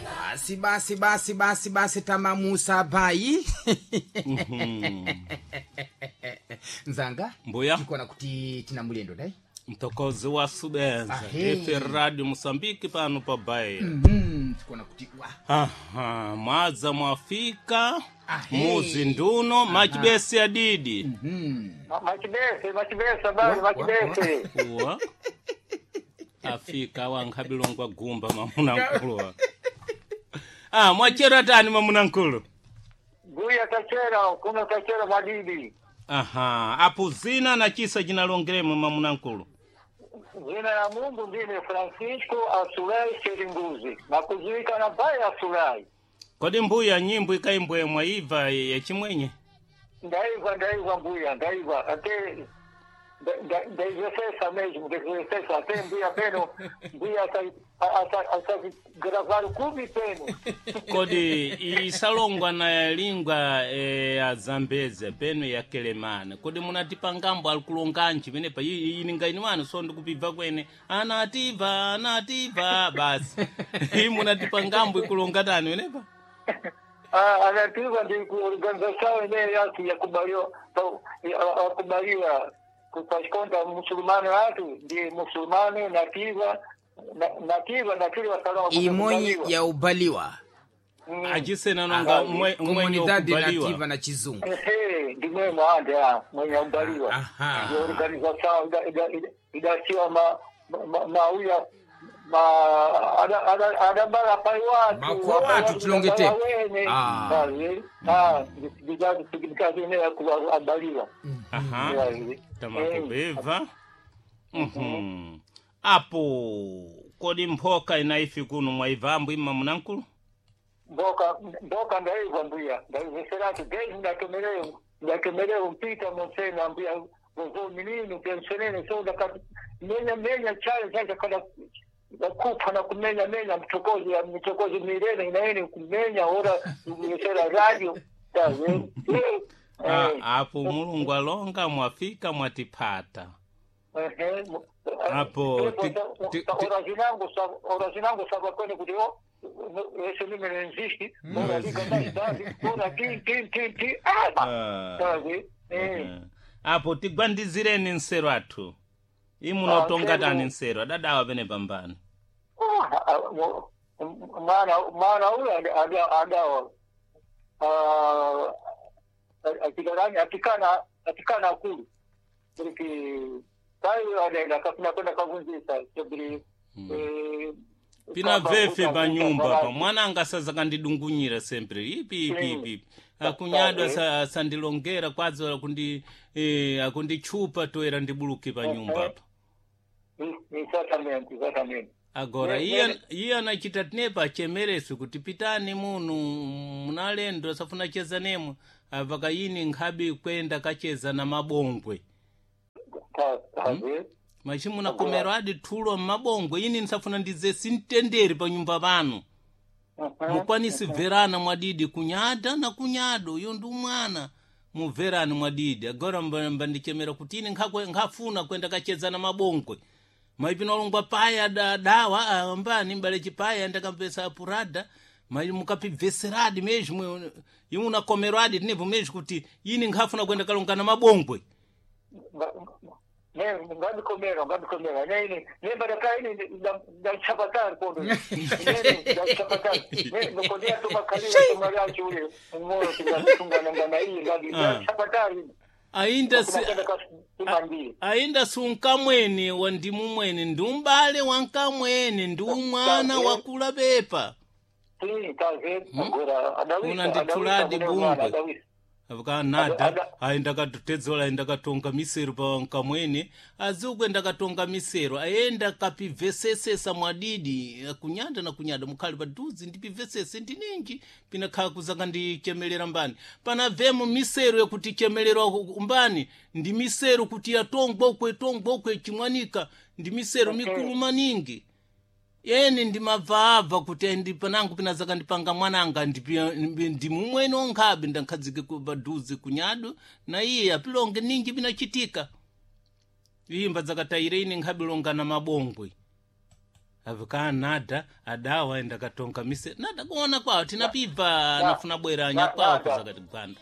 Basi basi basi basi basi tamamusa bai. Nzanga. Mbuya. Tikuona kuti tina mulendo dai. Mtokozi wa subenza. Ahe. Efe Radio Mosambiki pano pa Bahia. Tikuona kuti wa. Aha, mwadza mwafika. Ahe. Muzi nduno machibesi adidi. Machibese, machibese, habari, machibese. Kuwa afika wankhabilongwa gumba mamuna nkulu. Ah, mwachera tani mamuna nkulu. Guya tachera, kuno tachera madidi. Aha, apo zina na chisa chinalongeremo mamuna nkulu. Zina ya Mungu ndine Francisco Asulai Seringuzi. Nakuzuika na bai Asulai. Kodi mbuya nyimbo ikaimbwe mwaibva yachimwenye? Ndaiva, ndaiva mbuya, ndaiva. Ate ndaizvesesa mesmo, ndaizvesesa. Ate mbuya peno, mbuya asa gravar kumi peno. Kodi isalongwa na lingwa ya Zambeze peno ya Kelemane. Kodi munatipa ngambo alikulonganji penepa ininga ini wanu so ndikupibva kwene anativa anativa basi. Iyi munatipa ngambo ikulonga tani penepa? Ah, anativa ndi ku organização ine yatu yakubaliwa yakubaliwa kupashikonda musulumani watu ndi musulumani nativa nativa nativa salama Imonyi ya ubaliwa. Achisena nonga mwenye Comunidade nativa ukubaliwa. na chizungu. Ehe, ndimwe mwande ah mwenye ubaliwa. Aha. Ndi organização idasiwa ma mauya ma ada ada bara pai watu Makwa watu tilongete. Ah. Ah, ndigazi significado ine yakubaliwa. Aha. Tamakubibva. Mhm. Apo kodi mphoka inaifi kuno mwaibva ima munankulu? Mboka mboka ndaiva mbuya ndaiveserati dei ndatomereo ndatomereo mpita monsena mbuya vovo minino pensionene so ndaka menya menya chale chacha kada kupa na kumenya menya mchokozi ya mchokozi mirene inaene kumenya ora vesera radio tawe. Ah, apo Mulungu alonga mwafika mwatipata. Apo, Ora zinango sabakwene kuti o ese numero nzishi ora liga ora ti ti ti ti ah Ah. tawe. Eh. Apo tigwandizireni nsero athu. Imunotonga Ah, tani nsero. nsero adadawa pene pambani. Mwana mwana uyo adawa atikarani atikana atikana akulu porque tayo adaenda kafuna kwenda kavunzisa sobre Pina vefe pa nyumba pa mwana angasaza kandidungunyira sempre ipi ipi ipi. ipi. Akunyadwa sandilongera kwadzo akundi akundichupa toera ndibuluke pa nyumba pa. Exatamente, exatamente. Agora iye anachita tinepa achemeresu kuti pitani munu munalendo asafuna cheza nemwe apaka yini nkhabi kwenda kacheza na mabongwe. Tá, tá, Machi munakomero adi thulo mmabongwe ini nsafuna ndize sintenderi pa nyumba pano. Mukwanisi bverana mwadidi kunyada na kunyado uyo ndi umwana mubverani mwadidi agora mbandichemera kuti ini nkhafuna kwenda kacheza na mabongwe. Maipino alongwa paya dawa ambani mbale chipaya ndakampesa apurada mai mukapibveseradi mesmo imwe unakomero adi tinepo mesmo kuti ini nkhafuna kwenda kalonga na mabongwe. Ne, ngabikomera, ngabikomera. Ne, ne baraka ini ndachapatari kondo. Ne, ndachapatari. Ne, nokodia to makali to mariachi ule. Ngoro tingatunga ngana hii ngabi ndachapatari. Ainda si, Tumandi. ainda sunkamweni wa ndimu mwene ndi umbale wa nkamwene ndi umwana wakula pepa. Sim, tá vendo? Agora, adawisa. Unandithuladi bungwe. Adawisa. Akanada Ada- ayi ndakatedzola ayi ndakatonga misero pa nkamwene azikwe ndakatonga misero ayenda kapibvesesesa mwadidi kunyada na kunyada mukhali padhuze ndipibvesese ndininji pinakhala kuzaka ndichemelera mbani panabvemo misero yakuti chemelerwa mbani ndi misero kuti yatongwa ukwe tongwa ukwe chimwanika ndi misero mikulu maningi eni ndimabvaabva kuti ndi panangu pinazaka ndipanga mwananga ndimumwene onkhabe ndankhadzike padhuze kunyado na iye apilonge ninji pinachitika. Iyimba dzakatayire ine nkhabilongana mabongwe avikaa nada adawa enda katonka mise nada kuona kwawo tinapibva nafuna bwera anyakwawo kuzakati gwanda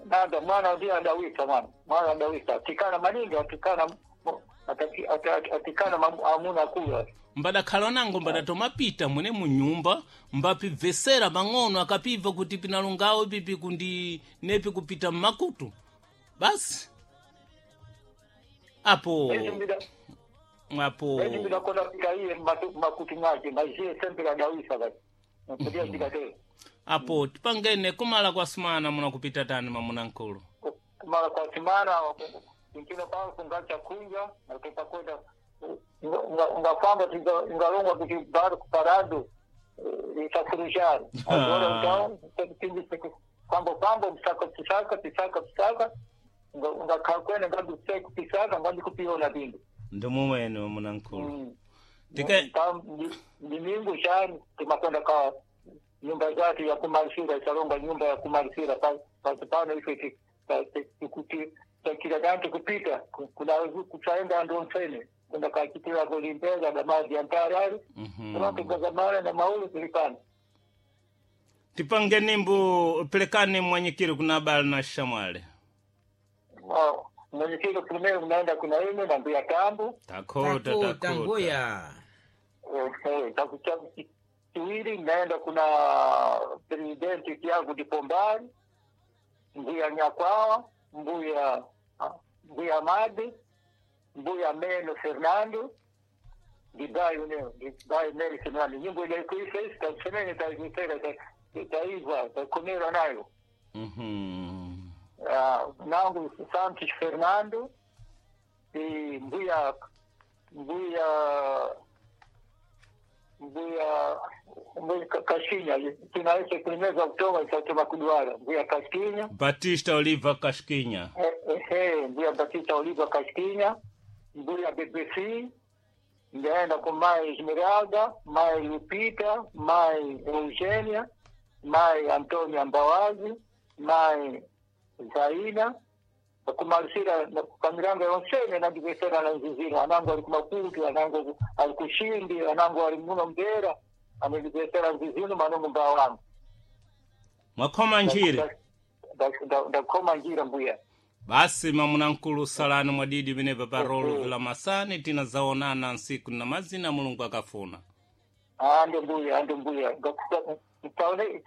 Nada mwana ndiye adawisa mwana adawisa atikana maningi atikana atikana amuna kula mbadakhala nango mbadatomapita mwene munyumba mbapibvesera pang'ono akapibva kuti pinalungawo ipipi kundi nepi kupita mmakutu basi apo apo ndakona pita iye makutu mwake maziye sempre adawisa basi nakudia zikatero apo tipangene kumala kwa sumana muna kupita tani mamuna nkulu kumala kwa simana nkino pao kungacha kunja nakupakwenda ungafamba ungalongwa kuti bado kuparado isafurushari agora então kwambo kwambo msaka pisaka pisaka pisaka ungakhakwena ngandiseko pisaka ngandikupiona bindu ndimumwene mamuna nkulu ndimingu shani timakwenda ka nyumba zake ya kumalisira isalonga nyumba ya kumalisira pasi pano ife takira dantu kupita kuna kuchaenda ando mfene kwenda kachitira kulimbeza na maji ya mtarari mm-hmm. na maulu tulipana tipange nimbu pelekane mwanyikiri kuna bali na shamwale mwenyekiti primero mnaenda kuna ine na mbuya tambu takota takota mbuya kiwili mnaenda kuna presidenti Tiago Dipombari mbuya Nyakwawa mbuya mbuya Madi mbuya Meno Fernando dibayo neo dibayo Meno Fernando nyimbo ile kuifa tasemene taisera taiva takomera nayo mhm nangu Santos Fernando e mbuya mbuya mbuya mbuya Kashinha tunaita primeiro Oktoba isatoma kuduara mbuya Kashinha Batista Oliva Kashinha mbuya Batista Oliva Kashinha mbuya BBC ndaenda com mai Esmeralda mai Lupita mai Eugênia mai Antônia Mbawazi mai Zaina kumalisira kamirango yonsene nandivesera na nziziro anangu ali kumakutu anangu ali kushindi anangu ali muno mbera anandivesera nzizino manongo mbaa wangu mwakhoma njira ndakhoma njira mbuya basi mamuna nkulu salani mwadidi penepa pa rolo vila masani tinazaonana nsiku na mazina mulungu akafuna ande mbuya ande mbuya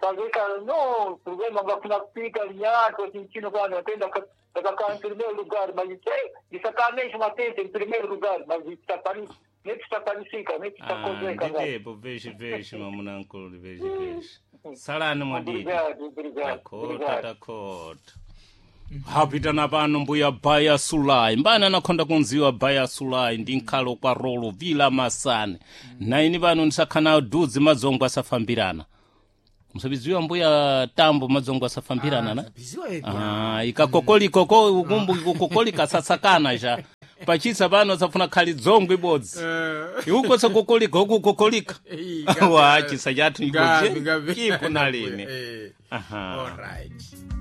taweka no problema ngafuna kupita nyato chinchino kwano atenda takakaa em primeiro lugar mas isakamesho matete em primeiro lugar mas netisapanisika netisakozeka nditepo veshe veshe mamuna nkulu veshe veshe salani mwadidi takota takota hapitana pano mbuya baya sulai mbani anakhonda kunziwa baya sulai ndi nkhalo kwa rolo vila masane naini pano ndisakhana dudzi madzongo asafambirana musabiziwa mbuya tambo madzongo asafambirana na ah, ikakokolikoko ukumbu ikukokolika sasakana ja pachisa pano safuna khali dzongo ibodzi iuko sakokolika ukukokolika wa chisa chathu ipo nalini Aha. All right.